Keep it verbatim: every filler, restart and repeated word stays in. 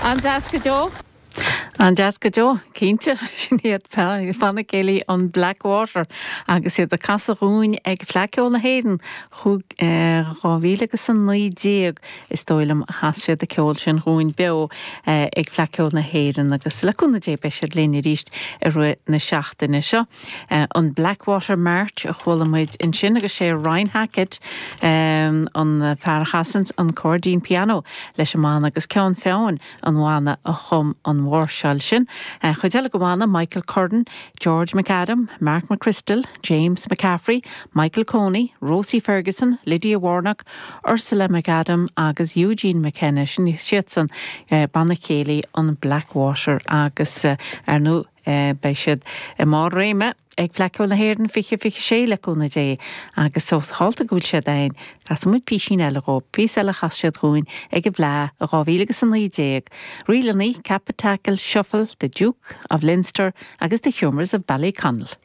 An-deas go deo? An-deas go deo cinnte sin iad Banna Céilí an Blackwater agus iad ag casadh dúinn ag Fleadh Cheoil na hÉireann chuig dhá mhíle agus a naoi déag is dóigh liom a chas siad an ceol sin dúinn beo ag Fleadh Cheoil na hÉireann agus le cúnamh Dé beidh siad linn arís i rith na seachtaine seo. An Blackwater March a chuala muid ansin agus sé Ryan Hackett an fear a chasann an cairdín pianó leis an mbanna agus Ceann Feabhain an bhanna a chum an mháirseáil sin. Chuid eile den bhanna Michael Curran, George McAdam, Mark McChrystal, James McCaffrey, Michael Coney, Rosie Ferguson, Lydia Warnock, Ursula McAdam agus Eugene McKenna sin siadsan banna céilí an Blackwater agus ar ndóigh beidh siad i mbarr réime ag Fleadh Cheoil na hÉireann fiche fiche sé le cúnamh Dé agus ós tharla go bhfuil siad ann casfaidh muid píosín eile dhóibh, píosa eile chas siad dúinn ag an bhFleadh dhá mhíle agus a naoi déag. Ríleanna, Cap Tackle, Shuffle, The Duke of Leinster agus The Humours of Ballyconnell.